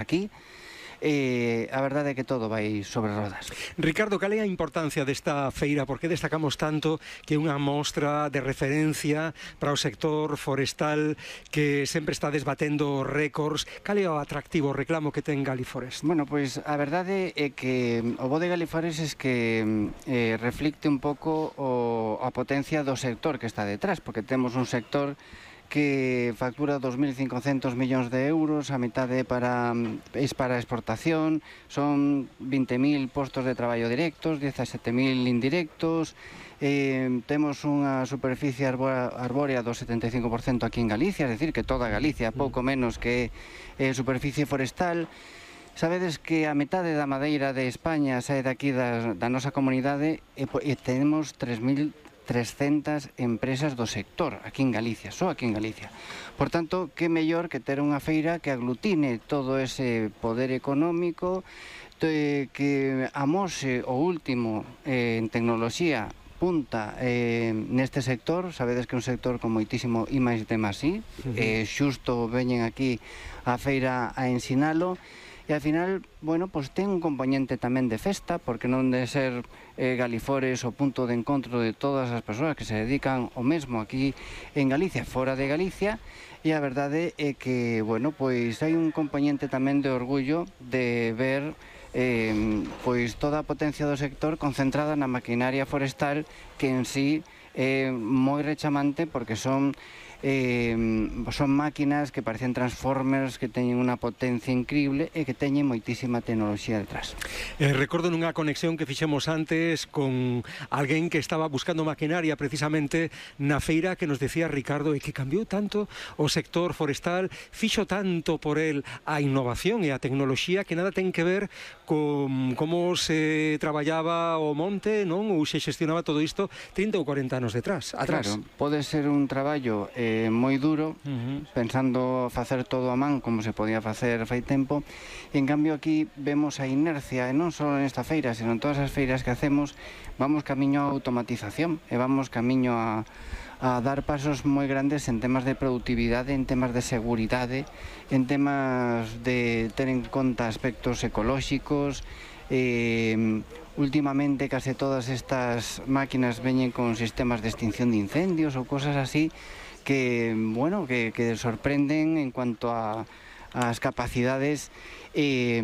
aquí. A verdade é que todo vai sobre rodas. Ricardo, cal é a importancia desta feira? Por que destacamos tanto que é unha mostra de referencia para o sector forestal que sempre está desbatendo récords? Cal é o atractivo, o reclamo que ten Galiforest? Bueno, pois a verdade é que o bo de Galiforest é que reflicte un pouco a potencia do sector que está detrás, porque temos un sector que factura 2.500 millóns de euros, a metade é para exportación, son 20.000 postos de traballo directos, 17.000 indirectos, temos unha superficie arbórea do 75% aquí en Galicia, é dicir, que toda Galicia, pouco menos que superficie forestal. Sabedes que a metade da madeira de España sae daqui da nosa comunidade e temos 3.300 empresas do sector aquí en Galicia, só aquí en Galicia. Por tanto, que mellor que ter unha feira que aglutine todo ese poder económico, que amose o último en tecnoloxía punta neste sector. Sabedes que é un sector con moitísimo I+D+I, xusto veñen aquí a feira a ensinalo. E, ao final, bueno, pois ten un componente tamén de festa, porque non de ser Galiforest o punto de encontro de todas as persoas que se dedican o mesmo aquí en Galicia, fora de Galicia, e a verdade é que, bueno, pois hai un componente tamén de orgullo de ver pois toda a potencia do sector concentrada na maquinaria forestal, que en sí é moi rechamante, porque son máquinas que parecen transformers, que teñen unha potencia increíble e que teñen moitísima tecnoloxía detrás. Recordo nunha conexión que fixemos antes con alguén que estaba buscando maquinaria precisamente na feira, que nos decía Ricardo que cambiou tanto o sector forestal, fixo tanto por el a innovación e a tecnoloxía, que nada ten que ver con como se traballaba o monte, non? Ou se xestionaba todo isto 30 ou 40 anos atrás. Claro, pode ser un traballo moi duro, pensando facer todo a man como se podía facer fai tempo, e en cambio aquí vemos a inercia, e non só nesta feira, sino en todas as feiras que hacemos, vamos camiño a automatización, e vamos camiño a dar pasos moi grandes en temas de productividade, en temas de seguridade, en temas de ter en conta aspectos ecolóxicos. Últimamente case todas estas máquinas veñen con sistemas de extinción de incendios ou cosas así que, bueno, que sorprenden en cuanto a as capacidades e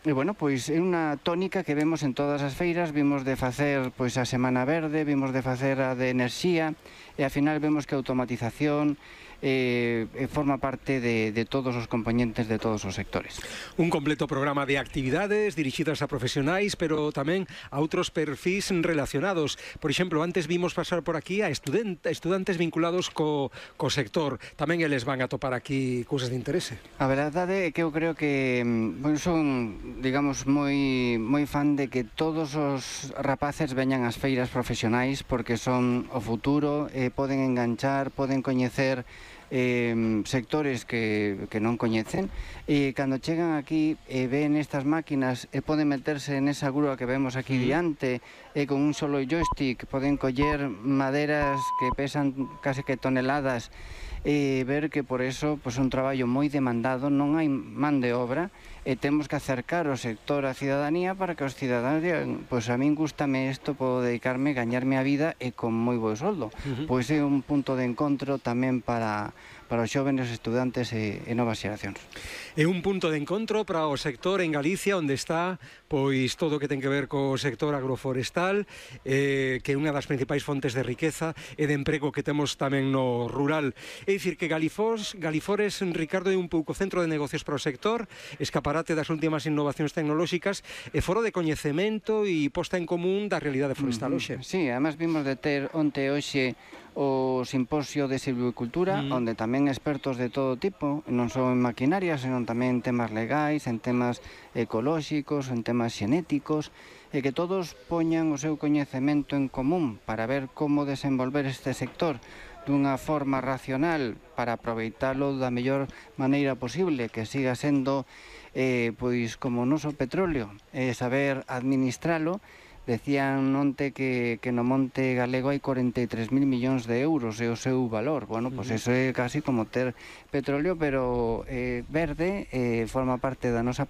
bueno, pois é unha tónica que vemos en todas as feiras. Vimos de facer pois a Semana Verde, vimos de facer a de enerxía, e ao final vemos que a automatización forma parte de todos os componentes de todos os sectores. Un completo programa de actividades dirixidas a profesionais, pero tamén a outros perfis relacionados. Por exemplo, antes vimos pasar por aquí a estudantes vinculados co sector. Tamén eles van a topar aquí cousas de interese. A verdade é que eu creo que son, digamos, moi fan de que todos os rapaces veñan ás feiras profesionais, porque son o futuro, poden enganchar, poden coñecer sectores que non coñecen, e cando chegan aquí e ven estas máquinas e poden meterse nesa grúa que vemos aquí diante, e con un solo joystick poden coller maderas que pesan case que toneladas, e ver que por eso pois, é un traballo moi demandado, non hai man de obra, e temos que acercar o sector á cidadanía para que os cidadáns digan, pois a min gústame isto, podo dedicarme, gañarme a vida e con moi bo soldo. Pois é un punto de encontro tamén para os xóvenes estudantes e novas xeracións. É un punto de encontro para o sector en Galicia, onde está pois todo o que ten que ver co sector agroforestal, que é unha das principais fontes de riqueza e de emprego que temos tamén no rural. É dicir que Galiforest, Ricardo, é un pouco centro de negocios para o sector, escaparate das últimas innovacións tecnolóxicas e foro de coñecemento e posta en común da realidade forestal hoxe. Sí, además vimos de ter onte hoxe o simposio de silvicultura, onde tamén expertos de todo tipo, non só en maquinaria, senón tamén en temas legais, en temas ecolóxicos, en temas xenéticos, e que todos poñan o seu coñecemento en común para ver como desenvolver este sector dunha forma racional para aproveitalo da mellor maneira posible, que siga sendo pois como o noso petróleo, saber administralo Decían onte que no monte galego hai 43.000 millóns de euros e o seu valor. Bueno, pois eso é casi como ter petróleo, pero verde, forma parte da nosa